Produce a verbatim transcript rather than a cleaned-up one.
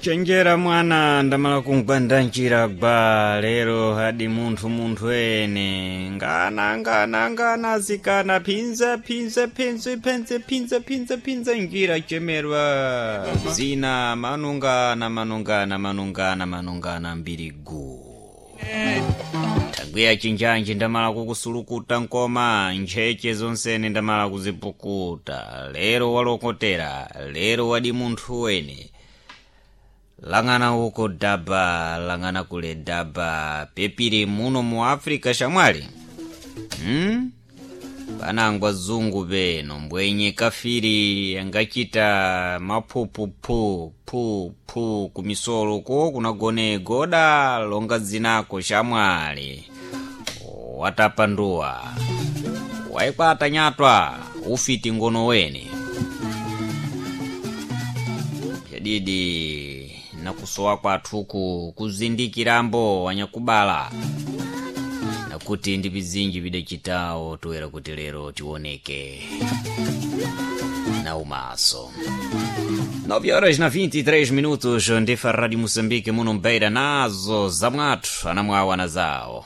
Chenjera mwana, ndamala kungwanda njira gwa lero hadi munthu munthu ene ngana ngana ngana zikana phinze phinze phinze phinze phinze phinze phinze njira chemerwa zina manungana manungana manungana manungana mbiri gu thagwiya chinjanji ndamala kukusulukuta nkoma ntcheche zonsene ndamala kuzipukuta lero walokotera lero wadi munthu wene lang'ana uko daba lang'ana kule daba pepiri muno mu africa shamwali hmm? panangwa zungu peno mbwenye kafiri angachita maphuphu phu phu kumisolo ko kunagone goda longa dzinako shamwali watapanduwa waikwata nyatwa ufiti ngono wene pyadidi nakusowa kwathuku kuzindikirambo wanyakubala nakuti ndi bizinji bidacitawo toera kuti lero tioneke na umaso nove horas na vinte e três minutos, ndifa Rádio Moçambique muno mbeira nazo zamwathu anamwawa na zawo.